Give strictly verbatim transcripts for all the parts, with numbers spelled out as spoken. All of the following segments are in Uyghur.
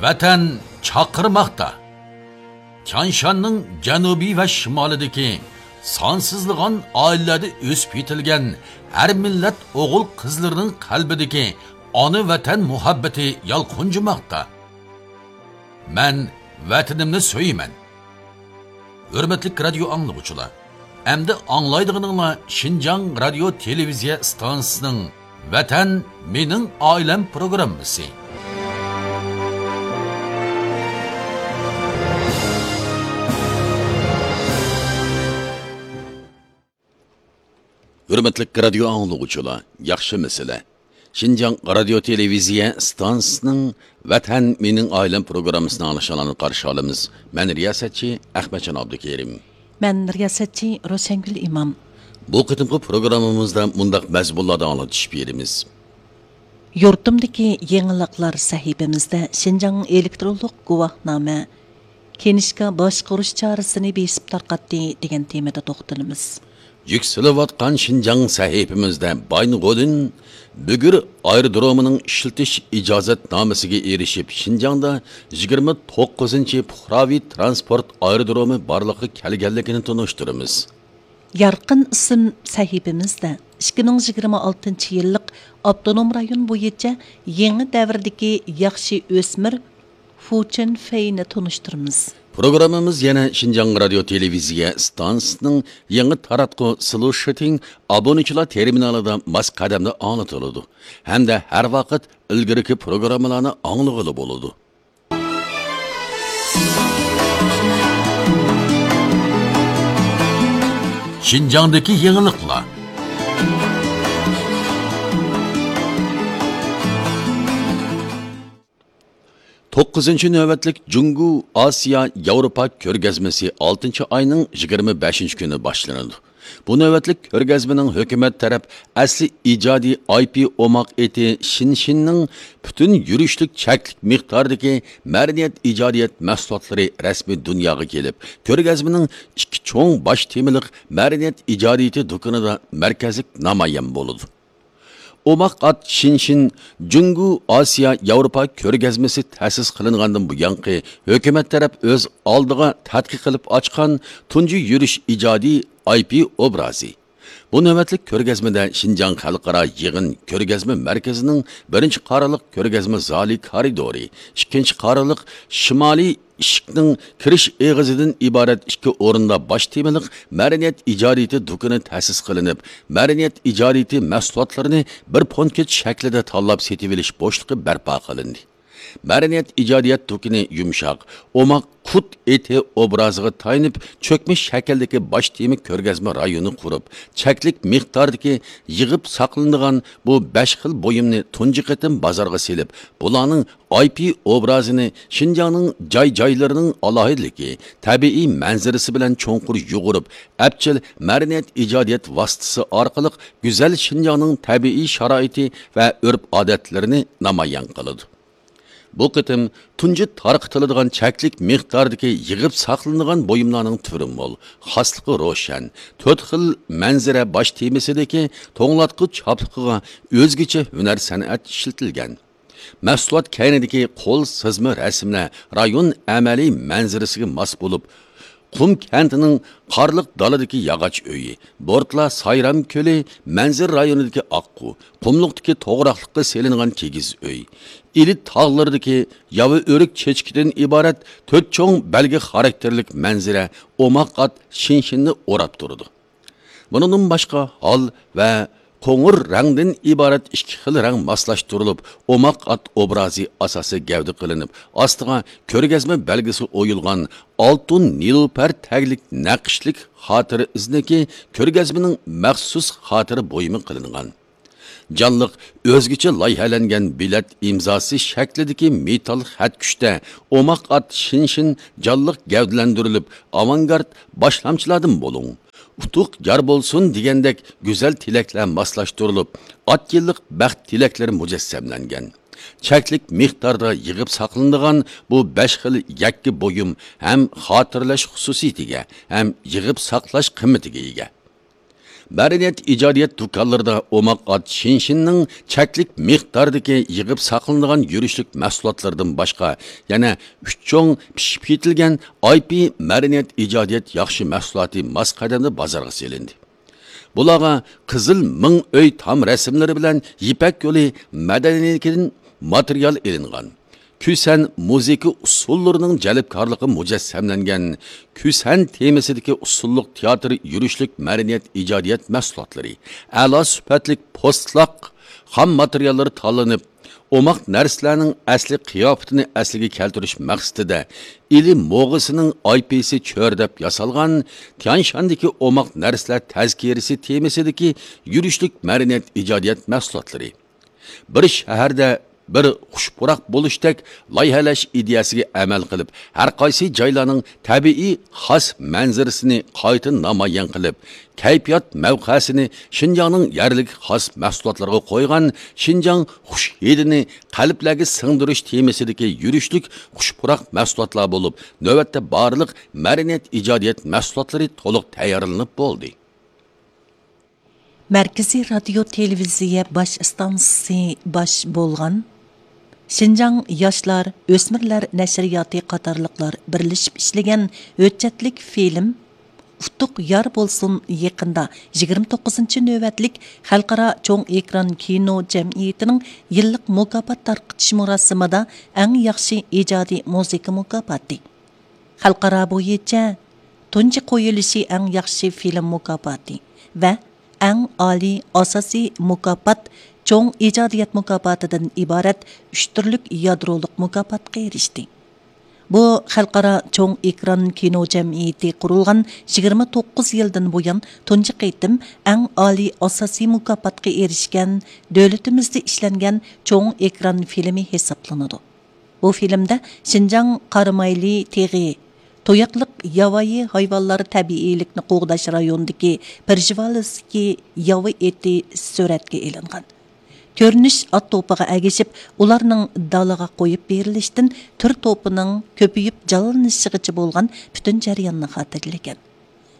ۋەتەن چاقىرماقتا. تيانشاننىڭ جەنۇبى ۋە شىمالىدىكى سانسىزلىغان ئائىلىلەردە ئۆسۈپ يېتىلگەن ھەر مىللەت ئوغۇل-قىزلىرىنىڭ قەلبىدىكى ئانا ۋەتەن مۇھەببىتى يالقۇنجىماقتا. مەن ۋەتىنىمنى سۆيىمەن. ھۆرمەتلىك رادىيو ئاڭلىغۇچىلار، ئەمدى ئاڭلايدىغىنىڭلار شىنجاڭ رادىيو تېلېۋىزىيە ئىستانسىسىنىڭ ۋەتەن مېنىڭ ئائىلەم پروگراممىسى. ھۆرمەتلىك رادىيو ئاڭلىغۇچىلار، ياخشىمۇسىلەر؟ شىنجاڭ رادىيو تېلېۋىزىيە ئىستانسىسىنىڭ ۋەتەن مېنىڭ ئائىلەم پروگراممىسىنى ئاڭلىشىڭلارنى قارشى ئالىمىز. مەن رىياسەتچى ئەخمەتجان ئابدۇكېرىم. مەن رىياسەتچى روشەنگۈل ئىمام. بۇ قېتىمقى پروگراممىمىزدا مۇنداق مەزمۇنلاردا ئاڭلىتىش بېرىمىز. يۇرتۇمدىكى يېڭىلىقلار سەھىپىمىزدە شىنجاڭ ئېلېكترونلۇق گۇۋاھنامە، كىنىشكا باشقۇرۇش چارىسىنى بېسىپ تارقاتتى دېگەن تېمىدا توختىلىمىز. يۈكسىلىۋاتقان شىنجاڭ سەھىپىمىزدە بايىنغولىن بۈگۈر ئايرودرومىنىڭ ئىشلىتىش ئىجازەتنامىسىگە ئېرىشىپ، شىنجاڭدا يىگىرمە توققۇزىنچى پۇقراۋى تىرانسپورت ئايرودرومى بارلىققا كەلگەنلىكىنى تونۇشتۇرىمىز. يارقىن ئىسىم سەھىپىمىزدە ئىككى مىڭ يىگىرمە ئالتىنچى يىللىق ئاپتونوم رايون بويىچە يېڭى دەۋردىكى ياخشى ئۆسمۈر فۇ چېن فېينى تونۇشتۇرىمىز. پروگراممىمىز يەنە شىنجاڭ رادىيو تېلېۋىزىيە ئىستانسىسىنىڭ يېڭى تاراتقۇ سلۇشىتىڭ ئابۇنىچىلار تېرمىنالىدا ماس قەدەمدە ئاڭلىتىلىدۇ ھەمدە ھەر ۋاقىت ئىلگىرىكى پروگراممىلارنى ئاڭلىغىلى بولىدۇ. شىنجاڭدىكى يېڭىلىقلار. توققۇزىنچى نۆۋەتلىك جۇڭگو ئاسىيا ياۋروپا كۆرگەزمىسى ئالتىنچى ئاينىڭ يىگىرمە بەشىنچى كۈنى باشلىنىدۇ. بۇ نۆۋەتلىك كۆرگەزمىنىڭ ھۆكۈمەت تەرەپ ئەسلى ئىجادىي ئاي پى ئوماق ئېتى شىنشىننىڭ پۈتۈن يۈرۈشلۈك چەكلىك مىقداردىكى مەدەنىيەت ئىجادىيەت مەھسۇلاتلىرى رەسمىي دۇنياغا كېلىپ، كۆرگەزمىنىڭ ئىككى چوڭ باش تېمىلىق مەدەنىيەت ئىجادىيىتى دۇكىنىدا مەركەزلىك نامايان بولىدۇ. ئوماق ئات شىنشىن جۇڭگو ئاسىيا ياۋروپا كۆرگەزمىسى تەسىس قىلىنغاندىن بۇيانقى ھۆكۈمەت تەرەپ ئۆز ئالدىغا تەتقىق قىلىپ ئاچقان تۇنجى يۈرۈش ئىجادىي ئاي پى ئوبرازى. بۇ نۆۋەتلىك كۆرگەزمىدە شىنجاڭ خەلقئارا يىغىن كۆرگەزمە مەركىزىنىڭ بىرىنچى قارىلىق كۆرگەزمە زالى كارىدورى، ئىككىنچى قارىلىق شىمالىي ئىشىكنىڭ كىرىش ئېغىزىدىن ئىبارەت ئىككى ئورۇندا باش تېمىلىق مەدەنىيەت ئىجادىيىتى دۇكىنى تەسىس قىلىنىپ، مەدەنىيەت ئىجادىيىتى مەھسۇلاتلىرىنى بىر پونكىت شەكلىدە تاللاپ سېتىۋېلىش بوشلۇقى بەرپا قىلىندى. مەدەنىيەت ئىجادىيەت دۇكىنى يۇمشاق، ئوماق قۇت ئېتى ئوبرازىغا تايىنىپ، چۆكمە شەكىلدىكى باش تېما كۆرگەزمە رايونى قۇرۇپ، چەكلىك مىقداردىكى يىغىپ ساقلىنىدىغان بۇ بەش خىل بۇيۇمنى تۇنجى قېتىم بازارغا سېلىپ، بۇلارنىڭ ئاي پى ئوبرازىنى شىنجاڭنىڭ جاي-جايلىرىنىڭ ئالاھىدىلىكى، تەبىئىي مەنزىرىسى بىلەن چوڭقۇر يۇغۇرۇپ، ئەپچىل مەدەنىيەت ئىجادىيەت ۋاسىتىسى ئارقىلىق گۈزەل شىنجاڭنىڭ تەبىئىي شارائىتى ۋە ئۆرپ-ئادەتلىرىنى نامايان قىلىدۇ. بۇ قېتىم تۇنجى تارقىتىلىدىغان چەكلىك مىقداردىكى يىغىپ ساقلىنىدىغان بۇيۇملارنىڭ تۈرى مول، خاسلىقى روشەن، تۆت خىل مەنزىرە باش تېمىسىدىكى توڭلاتقۇ چاپلىقىغا ئۆزگىچە ھۈنەر سەنئەت ئىشلىتىلگەن. مەھسۇلات كەينىدىكى قول سىزما رەسىملەر رايون ئەمەلىي مەنزىرىسىگە ماس بولۇپ، قۇم كەنتىنىڭ قارلىق دالىدىكى ياغاچ ئۆيى، بورتلا سايرام كۆلى، مەنزىرە رايونىدىكى ئاققۇ، قۇملۇقتىكى توغراقلىققا سېلىنغان كىگىز ئۆي، ئىلى تاغلىرىدىكى ياۋا ئۆرۈك چېچىكىدىن ئىبارەت تۆت چوڭ بەلگە خاراكتېرلىك مەنزىرە ئوماق ئات شىنشىننى ئوراپ تۇرىدۇ. بۇنىڭدىن باشقا ھال ۋە قوڭۇر رەڭدىن ئىبارەت ئىككى خىل رەڭ ماسلاشتۇرۇلۇپ، ئوماق ئات ئوبرازى ئاساسىي گەۋدە قىلىنىپ، ئاستىغا كۆرگەزمە بەلگىسى ئويۇلغان ئالتۇن نېلۇپەر تەگلىك نەقىشلىك خاتىرە ئىزنىكى كۆرگەزمىنىڭ مەخسۇس خاتىرە بۇيۇمى قىلىنغان. جانلىق، ئۆزگىچە لايىھەلەنگەن بېلەت ئىمزاسى شەكلىدىكى مېتال خەتكۈچتە ئوماق ئات شىنشىن جانلىق گەۋدىلەندۈرۈلۈپ، ئاۋانگارت باشلامچىلاردىن بولۇڭ، ئۇتۇق يار بولسۇن دېگەندەك گۈزەل تىلەكلەر ماسلاشتۇرۇلۇپ، ئات يىللىق بەخت تىلەكلىرى مۇجەسسەملەنگەن. چەكلىك مىقداردا يىغىپ ساقلىنىدىغان بۇ بەش خىل يەككە بۇيۇم ھەم خاتىرىلەش خۇسۇسىيىتىگە، ھەم يىغىپ ساقلاش قىممىتىگە ئىگە. مەدەنىيەت ئىجادىيەت دۇكانلىرىدا ئوماق ئات شىنشىننىڭ چەكلىك مىقداردىكى يىغىپ ساقلىنىدىغان يۈرۈشلۈك مەھسۇلاتلىرىدىن باشقا، يەنە ئۈچ چوڭ پىشىپ يېتىلگەن ئاي پى مەدەنىيەت ئىجادىيەت ياخشى مەھسۇلاتى ماس قەدەمدە بازارغا سېلىندى. بۇلارغا قىزىل مىڭ ئۆي تام رەسىملىرى بىلەن يىپەك يولى مەدەنىيلىكىدىن ماتېرىيال ئېلىنغان، كۈسەن مۇزىكا ئۇسسۇللىرىنىڭ جەلپكارلىقى مۇجەسسەملەنگەن، كۈسەن تېمىسىدىكى ئۇسسۇللۇق تىياتىر يۈرۈشلۈك مەدەنىيەت ئىجادىيەت مەھسۇلاتلىرى، ئەلا سۈپەتلىك پوستلاق خام ماتېرىياللىرى تاللىنىپ، ئوماق نەرسىلەرنىڭ ئەسلى قىياپىتىنى ئەسلىگە كەلتۈرۈش مەقسىتىدە، ئىلى موغىسىنىڭ ئاي پىسى چۆرىدەپ ياسالغان تيانشاندىكى ئوماق نەرسىلەر تەزكىرىسى تېمىسىدىكى يۈرۈشلۈك مەدەنىيەت ئىجادىيەت مەھسۇلاتلىرى، بىر شەھەردە بىر خۇش پۇراق بولۇشتەك لايىھەلەش ئىدىيەسىگە ئەمەل قىلىپ، ھەر قايسى جايلارنىڭ تەبىئىي خاس مەنزىرىسىنى قايتا نامايان قىلىپ، كەيپىيات مەۋقەسىنى شىنجاڭنىڭ يەرلىك خاس مەھسۇلاتلىرىغا قويغان شىنجاڭ خۇش ھىدىنى قەلبلەرگە سىڭدۈرۈش تېمىسىدىكى يۈرۈشلۈك خۇش پۇراق مەھسۇلاتلار بولۇپ، نۆۋەتتە بارلىق مەدەنىيەت ئىجادىيەت مەھسۇلاتلىرى تولۇق تەييارلىنىپ بولدى. مەركىزىي رادىيو تېلېۋىزىيە باش ئىستانسىسى باش بولغان شىنجاڭ ياشلار، ئۆسمۈرلەر نەشرىياتى قاتارلىقلار بىرلىشىپ ئىشلىگەن ھۆججەتلىك فىلىم ئۇتۇق يار بولسۇن يېقىندا يىگىرمە توققۇزىنچى نۆۋەتلىك خەلقئارا چوڭ ئېكران كىنو جەمئىيىتىنىڭ يىللىق مۇكاپات تارقىتىش مۇراسىمىدا ئەڭ ياخشى ئىجادىي مۇزىكا مۇكاپاتى، خەلقئارا بويىچە تۇنجى قويۇلۇشى ئەڭ ياخشى فىلىم مۇكاپاتى ۋە ئەڭ ئالىي ئاساسىي مۇكاپات چوڭ ئىجادىيەت مۇكاپاتىدىن ئىبارەت ئۈچ تۈرلۈك يادرولۇق مۇكاپاتقا ئېرىشتى. بۇ خەلقئارا چوڭ ئېكران كىنو جەمئىيىتى قۇرۇلغان يىگىرمە توققۇز يىلدىن بۇيان تۇنجى قېتىم ئەڭ ئالىي ئاساسىي مۇكاپاتقا ئېرىشكەن دۆلىتىمىزدە ئىشلەنگەن چوڭ ئېكران فىلىمى ھېسابلىنىدۇ. بۇ فىلىمدە شىنجاڭ قارامايلى تېغى، تۇياقلىق ياۋايى ھايۋانلار تەبىئىيلىكنى قوغداش رايونىدىكى پېرژىۋالىسكى ياۋا ئېتى سۈرەتكە ئېلىنغان. كۆرۈنۈش ئات توپىغا ئەگىشىپ، ئۇلارنىڭ دالىغا قويۇپ بېرىلىشتىن تۈر توپىنىڭ كۆپىيىپ جانلىنىشىغىچە بولغان پۈتۈن جەرياننى خاتىرىلىگەن.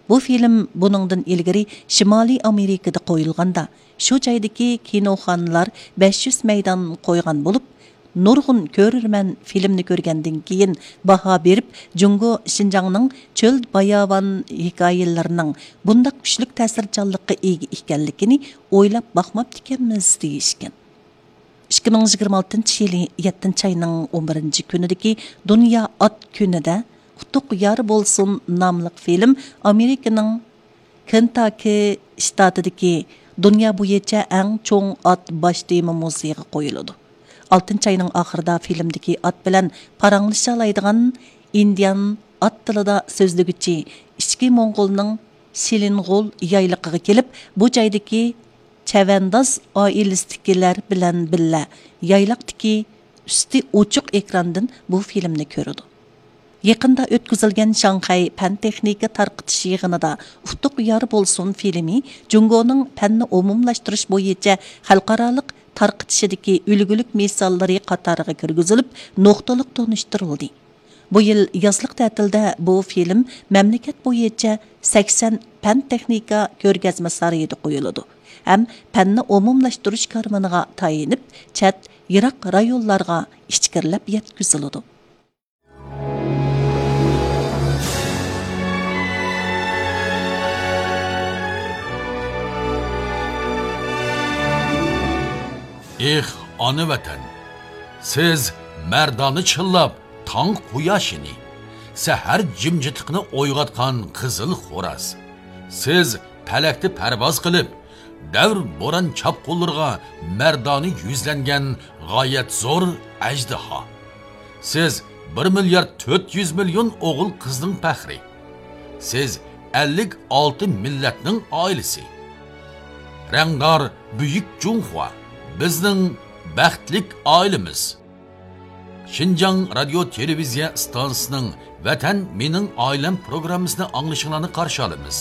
بۇ فىلىم بۇنىڭدىن ئىلگىرى شىمالىي ئامېرىكىدا قويۇلغاندا، شۇ جايدىكى كىنوخانىلار بەش يۈز مەيدان قويغان بولۇپ، نۇرغۇن كۆرۈرمەن فىلىمنى كۆرگەندىن كېيىن باھا بېرىپ، جۇڭگو شىنجاڭنىڭ چۆل باياۋان ھېكايىلىرىنىڭ بۇنداق كۈچلۈك تەسىرچانلىققا ئىگە ئىكەنلىكىنى ئويلاپ باقماپتىكەنمىز، دېيىشكەن. ئىككى مىڭ يىگىرمە ئالتىنچى يىلى يەتتىنچى ئاينىڭ ئون بىرىنچى كۈنىدىكى دۇنيا ئات كۈنىدە ئۇتۇق يار بولسۇن ناملىق فىلىم ئامېرىكىنىڭ كېنتاكى شتاتىدىكى دۇنيا بويىچە ئەڭ چوڭ ئات باش تېما مۇزېيىغا قويۇلىدۇ. ئالتىنچى ئاينىڭ ئاخىرىدا فىلىمدىكى ئات بىلەن پاراڭلىشالايدىغان ئىندىيان ئات تىلىدا سۆزلىگۈچى ئىچكى موڭغۇلنىڭ شىلىنغۇل يايلىقىغا كېلىپ، بۇ جايدىكى چەۋەنداز ئائىلىسىدىكىلەر بىلەن بىللە يايلاقتىكى ئۈستى ئوچۇق ئېكراندىن بۇ فىلىمنى كۆرىدۇ. يېقىندا ئۆتكۈزۈلگەن شاڭخەي پەن تېخنىكا تارقىتىش يىغىنىدا ئۇتۇق يار بولسۇن فىلىمى جۇڭگونىڭ پەننى ئومۇملاشتۇرۇش بويىچە خەلقئارالىق تارقىتىشىدىكى ئۈلگىلىك مىساللىرى قاتارىغا كىرگۈزۈلۈپ، نۇقتىلىق تونۇشتۇرۇلدى. بۇ يىل يازلىق تەتىلدە بۇ فىلىم مەملىكەت بويىچە سەكسەن پەن تېخنىكا كۆرگەزمە سارىيىدا قويۇلىدۇ ھەم پەننى ئومۇملاشتۇرۇش كارۋىنىغا تايىنىپ، چەت، يىراق رايونلارغا ئىچكىرىلەپ يەتكۈزۈلىدۇ. ئېھ، ئانا ۋەتەن! سىز مەردانە چىللاپ تاڭ قۇياشىنى، سەھەر جىمجىتلىقىنى ئويغاتقان قىزىل خوراز. سىز پەلەكتە پەرۋاز قىلىپ، دەۋر بوران چاپقۇنلىرىغا مەردانە يۈزلەنگەن غايەت زور ئەجدىھا. سىز بىر مىليارد تۆت يۈز مىليون ئوغۇل قىزنىڭ پەخرى. سىز ئەللىك ئالتە مىللەتنىڭ ئائىلىسى. رەڭدار بۈيۈك جۇڭخۇا، بىزنىڭ بەختلىك ئائىلىمىز. شىنجاڭ رادىيو تېلېۋىزىيە ئىستانسىسىنىڭ ۋەتەن مېنىڭ ئائىلەم پروگراممىسىنى ئاڭلىشىڭلارنى قارشى ئالىمىز.